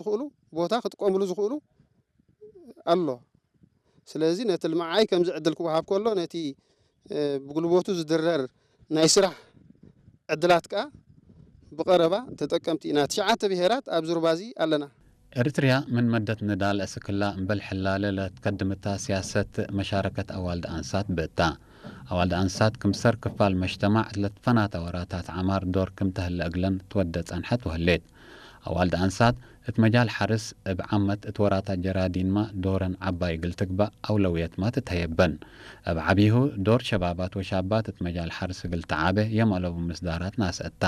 ዝኽእሉ ቦታ ክጥቀምሉ ዝኽእሉ ኣሎ። ስለዚ ነቲ ልምዓይ ከምዚ ዕድል ክወሃብ ከሎ ነቲ ብጉልበቱ ዝድረር ናይ ስራሕ ዕድላት ከኣ ብቐረባ ተጠቀምቲ ኢና። ትሽዓተ ብሄራት ኣብ ዙርባዚ ኣለና። ኤርትርያ ምን መደት ንዳል እስክላ እምበል ሕላለ ለትከድምታ ሲያሰት መሻረከት ኣዋልድ ኣንሳት ብእታ ኣዋልድ ኣንሳት ክምሰር ክፋል መሽተማዕ ለትፈናታ ወራታት ዓማር ዶር ክም ተህለ እግለን ትወደ ጸንሐት ወህሌት። ኣዋልድ ኣንሳት እት መጃል ሓርስ እብ ዓመት እት ወራታ ጀራዲንማ ዶረን ዓባይ እግል ትግባእ ኣውለውየትማ ትተየበን። እብ ዓቢሁ ዶር ሸባባት ወሻባት እት መጃል ሓርስ እግል ተዓበ የም ኣለቡ ምስዳራት ናስአታ።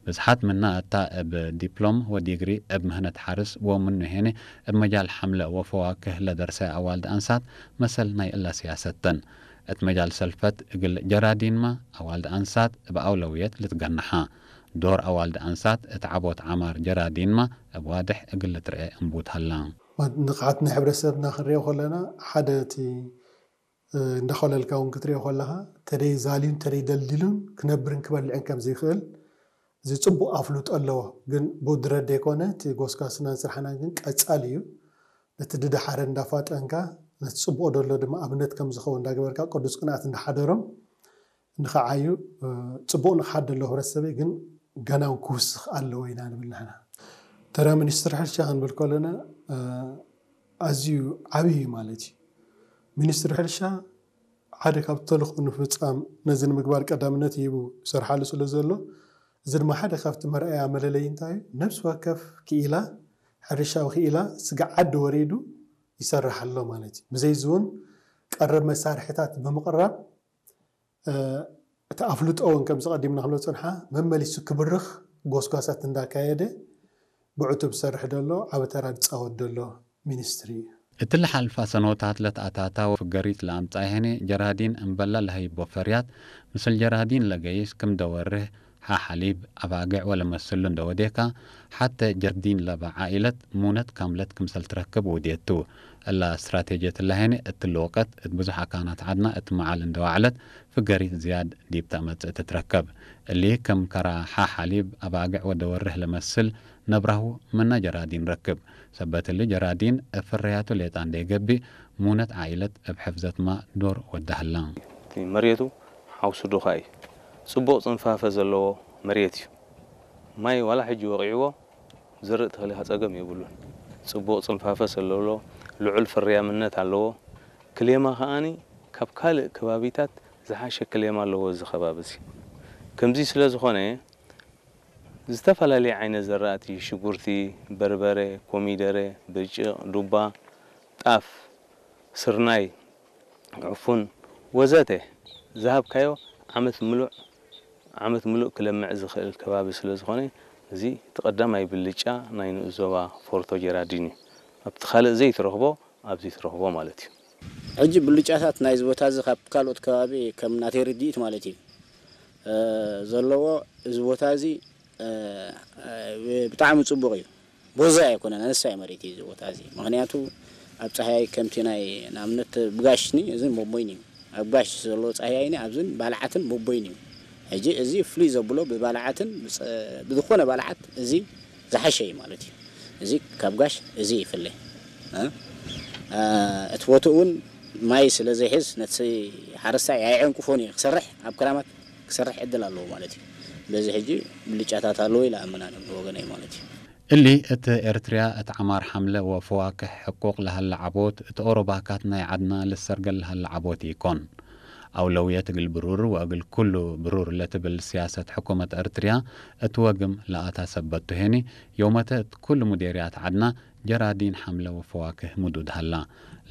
ብዝሓት ምና እታ እብ ዲፕሎም ወዲግሪ እብ ምህነት ሓርስ ወምኑ ሄነ እብ መጃል ሓምለ ወፈዋክህ ለደርሰ ኣዋልድ ኣንሳት መሰል ናይ እላ ሲያሰተን። እት መጃል ሰልፈት እግል ጀራዲንማ ኣዋልድ ኣንሳት እብ ኣውለውየት ልትገነሓ። ዶር ኣዋልድ ኣንሳት እት ዓቦት ዓማር ጀራዲንማ እብ ዋድሕ እግል ልትርኤ እንቡት ሀላ። ንቕሓት ናይ ሕብረተሰብና ክንሪኦ ከለና ሓደ እቲ እንዳኾለልካ እውን ክትሪኦ ከለኻ ተደይ ዛልዩን ተደይ ደልዲሉን ክነብርን ክበልዕን ከም ዘይኽእል እዚ ጽቡቕ ኣፍልጦ ኣለዎ። ግን ብድረት ደይኮነ እቲ ጎስጓስናን ስራሕናን ግን ቀጻሊ እዩ። ነቲ ድደሓረ እንዳፋጠንካ ነቲ ጽቡቕ ደሎ ድማ ኣብነት ከም ዝኸውን እንዳገበርካ ቅዱስ ቅንኣት እንዳሓደሮም ንኸዓዩ ጽቡቕ ንኽሓድ ደሎ ሕብረተሰበይ ግን ገና እውን ክውስኽ ኣለዎ ኢና ንብል ንሕና። ተራ ሚኒስትር ሕርሻ ክንብል ከለና ኣዝዩ ዓብዪ እዩ ማለት እዩ። ሚኒስትር ሕርሻ ሓደ ካብ ተልእኾ ንምፍጻም ነዚ ንምግባር ቀዳምነት ሂቡ ይሰርሓሉ ስለ ዘሎ እዚ ድማ ሓደ ካብቲ መርኣያ መለለዪ እንታይ እዩ? ነብሲ ወከፍ ክኢላ ሕርሻዊ ክኢላ ስግዓ ዓዲ ወሪዱ ይሰርሕ ኣሎ ማለት እዩ። ብዘይ እዚ እውን ቀረብ መሳርሕታት ብምቕራብ እቲ ኣፍልጦ እውን ከምዚ ቀዲምና ክብሎ ዝጸንሓ መመሊሱ ክብርኽ ጎስጓሳት እንዳካየደ ብዕቱብ ዝሰርሕ ዘሎ ዓቢ ተራ ዝጻወት ዘሎ ሚኒስትሪ እዩ። እቲ ልሓልፋ ሰኖታት ለትኣታታ ወፍገሪት ለኣምጻ ይሄኔ ጀራዲን እምበላ ለሀይቦ ፈርያት ምስል ጀራዲን ለገይስ ክም ደወርህ ሓ ሓሊብ ኣባግዕ ወለመስሉ እንደወዴካ ሓተ ጀርዲን ለባ ዓኢለት ሙነት ካምለት ክምሰል ትረክብ ውዴቱ። እላ ስትራቴጅየት እላሄነ እትሊ ወቀት እት ብዙሕ ኣካናት ዓድና እት መዓል እንደዋዕለት ፍገሪት ዝያድ ዲብ ተመጽእ ትትረከብ። እሊ ከም ከራ ሓ ሓሊብ ኣባግዕ ወደወርህ ለመስል ነብራሁ ምና ጀራዲን ረክብ። ሰበት እሊ ጀራዲን እብ ፍርያቱ ሌጣ እንደይገቢእ ሙነት ዓኢለት እብ ሕፍዘትማ ዶር ወዳህላ። እቲ መሬቱ ሓውሲ ዱኻ እዩ። ጽቡቕ ጽንፋፈ ዘለዎ መሬት እዩ። ማይ ዋላ ሕጂ ወቒዕዎ ዝርእ ተኽሊ ጸገም የብሉን። ጽቡቕ ጽንፋፈ ዘለዎ ልዑል ፍርያምነት ኣለዎ። ክሌማ ከኣኒ ካብ ካልእ ከባቢታት ዝሓሸ ክሌማ ኣለዎ እዚ ከባቢ እዚ። ከምዚ ስለ ዝኾነ ዝተፈላለየ ዓይነት ዘራእቲ ሽጉርቲ፣ በርበረ፣ ኮሚደረ፣ ብርጭቕ፣ ዱባ፣ ጣፍ፣ ስርናይ፣ ዕፉን ወዘተ ዝሃብካዮ ዓመት ምሉእ ዓመት ምሉእ ክለምዕ ዝኽእል ከባቢ ስለ ዝኾነ እዚ እቲ ቀዳማይ ብልጫ ናይ ንኡስ ዞባ ፎርቶ ጀራዲን እዩ። ኣብቲ ካልእ ዘይትረኽቦ ኣብዚ ትረኽቦ ማለት እዩ። ሕጂ ብልጫታት ናይዚ ቦታ እዚ ካብ ካልኦት ከባቢ ከም ናተይ ርድኢት ማለት እዩ ዘለዎ እዚ ቦታ እዚ ብጣዕሚ ፅቡቕ እዩ። ቦዛ ኣይኮነን ኣነሳይ መሬት እዩ እዚ ቦታ እዚ ምክንያቱ ኣብ ፀሃያይ ከምቲ ናይ ንኣብነት ብጋሽኒ እዝን ቦቦይን እዩ ኣብ ጋሽ ዘሎ ፀሃያይኒ ኣብዝን ባልዓትን ቦቦይን እዩ። ሕጂ እዚ ፍሉይ ዘብሎ ብባልዓትን ብዝኾነ ባልዓት እዚ ዝሓሸ እዩ ማለት እዩ። እዚ ካብ ጋሽ እዚ ይፍለ። እቲ ቦትኡ እውን ማይ ስለ ዘይሕዝ ነቲ ሓረስታይ ኣየዕንቅፎን እዩ ክሰርሕ ኣብ ክራማት ክሰርሕ ዕድል ኣለዎ ማለት እዩ። በዚ ሕጂ ብልጫታት ኣለዎ ኢለ ኣምናን ወገነይ ማለት እዩ። እሊ እት ኤርትርያ እት ዓማር ሓምለ ወፈዋክሕ ሕቁቅ ለሀለ ዓቦት እት ኦሮባካት ናይ ዓድና ልሰርገል ለሀለ ዓቦት ኢኮን። ኣውለውየት እግል ብሩር ወእግል ኩሉ ብሩር ለትብል ስያሰት ሕኩመት ኤርትርያ እት ወግም ለኣታ ሰበት ቱ ሄኒ ዮመተ እት ኩሉ ሙዴርያት ዓድና ጀራዲን ሓምለ ወፈዋክህ ምዱድ ሀላ።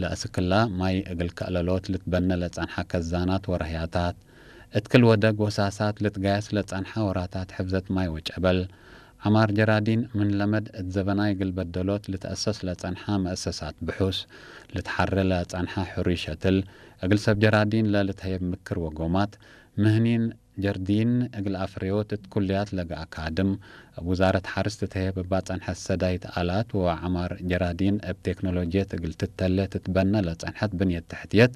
ለእስክላ ማይ እግል ከእለሎት ልትበነ ለጸንሓ ከዛናት ወረህያታት እት ክል ወደግ ወሳሳት ልትጋየስ ለጸንሓ ወራታት ሕፍዘት ማይ ወጨበል። ዐማር ጀራዲን ምን ለመድ እት ዘበናይ እግል በደሎት ልትአሰስ ለጸንሓ መአሰሳት ብሑስ፣ ልትሓረ ለጸንሓ ሕሩይ ሸትል፣ እግል ሰብ ጀራዲን ለልትሀየብ ምክር ወጎማት፣ ምህኒን ጀርዲን እግል አፍረዮት እት ኩልያት ለገ አካድም፣ እብ ውዛረት ሐርስ ትትሀየብ እባ ጸንሐት ሰዳይት አላት ወዐማር ጀራዲን እብ ቴክኖሎጅየት እግል ትተሌ ትትበነ ለጸንሐት ብንየት ተሕትየት፣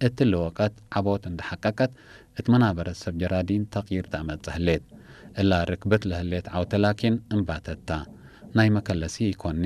እትሊ ወቀት ዐቦት እንደ ሐቀቀት፣ እት መናበረት ሰብ ጀራዲን ተቅይር ተአመጽእ ህሌት። እላ ርክብት ለህሌት ዐውተ ላኪን እንባተት ታ። ናይ መከለሲ ኢኮኒ።